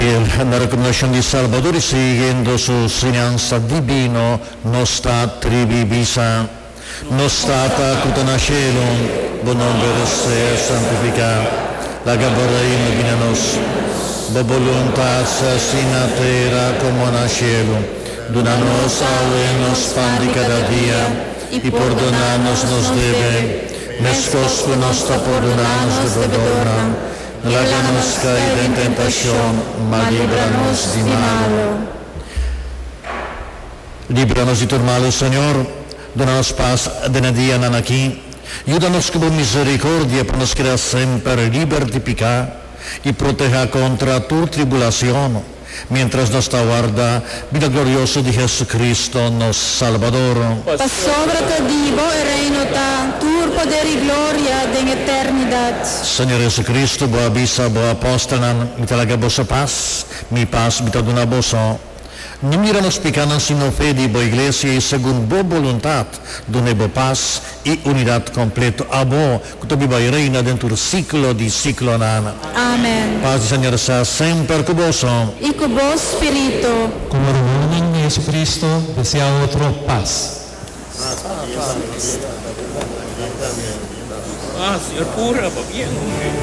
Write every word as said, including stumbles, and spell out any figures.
Fiel na rekomendashon di Salbador i siguiendo su siñansa divino, nos ta tribi bisa: Nos Tata ku ta na shelu, bo nòmber sea santifiká, laga bo reino bini na nos. Bo boluntat sea hasí na tera komo na shelu. Duna nos awe nos pan di kada dia, i pordoná nos nos debe, meskos ku nos ta pordoná nos debedónan. No laga nos kai den tentashon, ma libra nos di malu. Líbranos de tur malo, Señor. Duna nos pas den e dianan aki. Yuda nos ku miserikòrdia pa nos keda semper liber di piká i protehá kontra tur tribulashon, mientras nos ta warda binida glorioso di Jesucristo, nos Salbador. Pasobra ta di bo e reino ta, tur poder i gloria den eternidat. Señor Jesucristo, bo a bisa bo apòstelnan: "Mi ta laga boso pas, mi pas mi ta duna boso. No mira nos pikánan, sino fe di bo iglesia, i segun bo boluntat, dun'é bo pas i unidat kompleto. Abo, ku ta biba i reina den siglo di siglonan." Amèn. Pas di Señor sea semper ku boso. I ku bo spiritu. Komo ruman di Jesucristo, deseá otro pas. Ah, señor Pura, va bien, hombre.